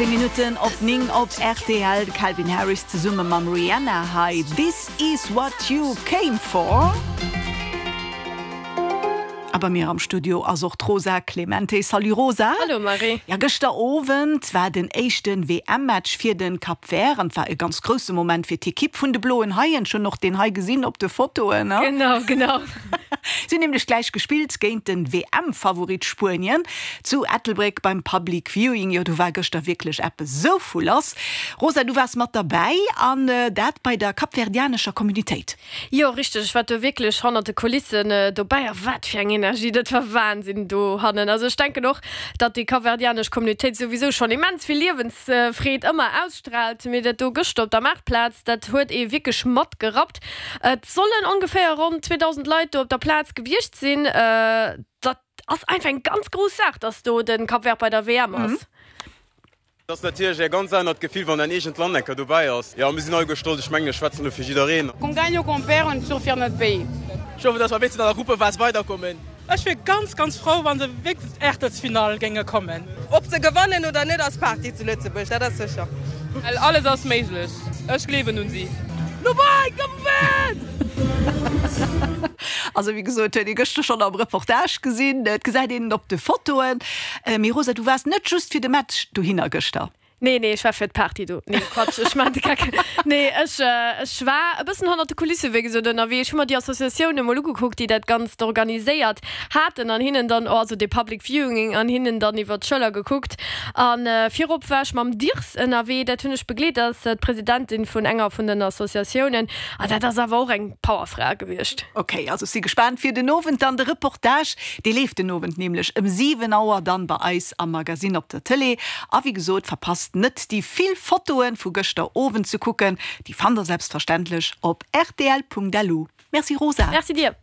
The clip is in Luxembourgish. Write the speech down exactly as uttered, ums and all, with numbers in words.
Zéng Minutten op néng op rtl, de Calvin Harris zesumme mam Rihanna hei, This is what you came for. A bei mir am Studio ass och d'Rosa Clemente. Salut Rosa. Hallo Marie. Ja, gëschter Owend war den éischten W M-Match fir den Cap Vert an war e ganz grousse Moment fir d'Ekipp vun de Bloen Haien. Schonn och deen hei gesinn op de Fotoen, ne? Genau, genau. Si hunn nämlech gläich gespillt géint den W M-Favorit Spuenien zu Ettelbréck beim Public Viewing. Jo, do war gëschter wierklech eppes esou vu lass. Rosa, du waars mat derbäi an dat bei der kapverdianescher Communitéit. Jo, richteg, ech war do wierklech hannert de Kulissen dobäi a wat fir eng Energie, dat war Wahnsinn dohannen. Also ech denken och, datt déi kapverdianesch Communitéit souwisou schonn immens vill Liewensfreed ëmmer ausstraalt, mee dat do gëschter op der Maartplaz, dat huet ee wierklech matgerappt. Et sollen ongeféier ronn zweedausend Leit do op der Plaz gewiescht sinn. Dat ass einfach eng ganz grouss Saach, datt do de Cap Vert bei der W M ass. Et ass natierlech e ganz anert Gefill, wann däin eegent Land eng Kéier dobäi ass. Jo, mir sinn alleguer stolz. Ech mengen, ech schwätzen elo fir jiddereen. Qu'on gagne ou qu'on perd, on est toujours fier de notre pays. Ech hoffen, dass mer wéinstens an der Gruppephas weiderkommen. Ech wier ganz ganz frou wann se wéinstens Aachtelsfinall géinge kommen. Ob se gewannen oder net, ass Party zu Lëtzebuerg, dat ass sécher. Well alles ass méiglech, ech gleewen un si. No bei, Cap Vert! Also wéi gesot, huet ee gëschter schonn am Reportage gesinn, et gesäit een et op de Fotoen. Mee Rosa, du waars net just fir de Match dohinner gëschter? Nee, nee, ech war fir d'Party do. Nee, Quatsch, ech maan de Geck. Nee, ech, ech war e bëssen hannert de Kulisse wéi gesot ënnerwee. Ech hu mer déi Associatioun emol ugekuckt, déi dat Ganzt organiséiert haten an hinnen dann, also dee Public Viewing, an hinnen dann iwwer d'Schëller gekuckt. A virop war ech mam Dirs ënnerwee, dat hunn ech begleet, dat ass d'Presidentin vun enger vun den Associatiounen. A dat ass awer och eng Powerfra gewiescht. Ok, also ech si gespaant fir den Owend dann de Reportage. Dee leeft den Owend nämlech ëm siwen Auer dann bei eis am Magasinn op der Tëlee. A wéi gesot, verpasst net déi vill Fotoen vu gëschter Owend ze kucken. Déi fannt der selbstverständlech op rtl Punkt lu. Merci Rosa. Merci dir.